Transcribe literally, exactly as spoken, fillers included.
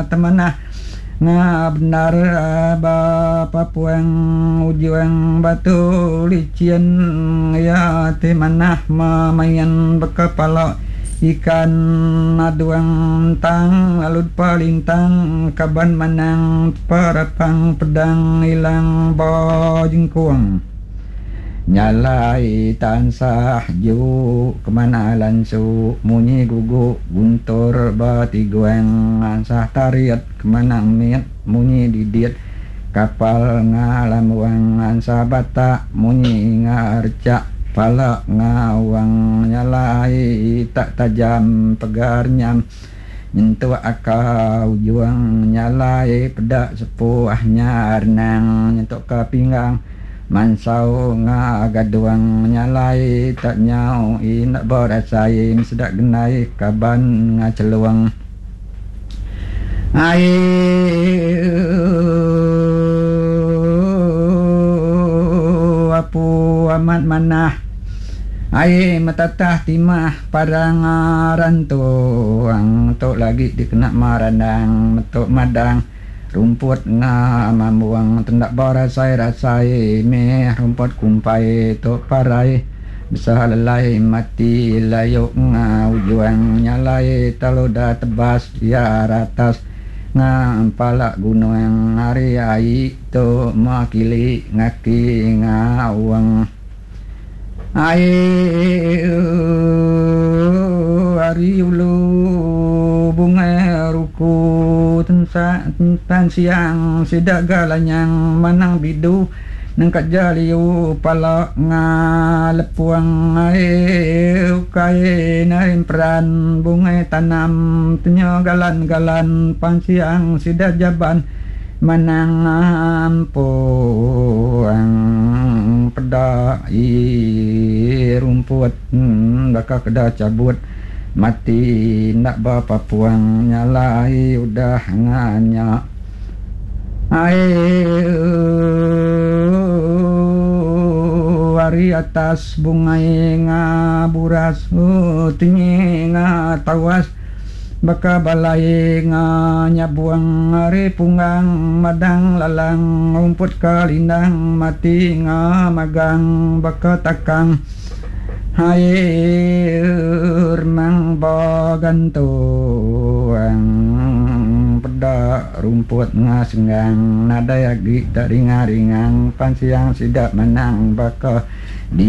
temanah nga bendar ba papuang ujung batu licin iya ti manah memain baka pala ikan aduang tang lalu palintang kaban manang perapang pedang ilang ba jengkung. Nyalai tansah ju kemana lansu munyi gugu guntur ba tiguang ansah tarit kemana mit munyi didit kapal ngalamuang ansah batak munyi ngarcak pala ngawang nyalai tak tajam pegar nyam nyentuk akau juang nyalai peda sepuh nyarnang nyentuk ke pinggang mansau ngagaduang nyalai tak nyau inak berasai sedak genai kaban ngaceluang ai apu amat manah ai metatah timah parang rantuang tok lagi dikena marandang metok madang rumput nga mambuang tendak berasai-rasai meh rumput kumpai tok parai besar lelai mati layuk nga ujuang nyalai taluda tebas ya ratas nga palak gunung ari ai tu makili ngaki ngawang ai ari ulu bungai ruku tensa tan siang sidak galanyang manang bidu nengkat jaliu pala ngalepuang ai ukai narim peran bungai tanam tenya galan-galan pansiang sidak jaban manang ampuang peda i rumput baka keda cabut mati nak bapa puang nyalai udah nganya ai ari atas bungai ngaburas tinggi ngatawas baka balai nganyabuang ari punggang madang lalang rumput kalindang mati ngamagang baka takang air mang bagantuang peda rumput ngasenggang nadai agi tak ringang-ringang pan siang sidak menang baka di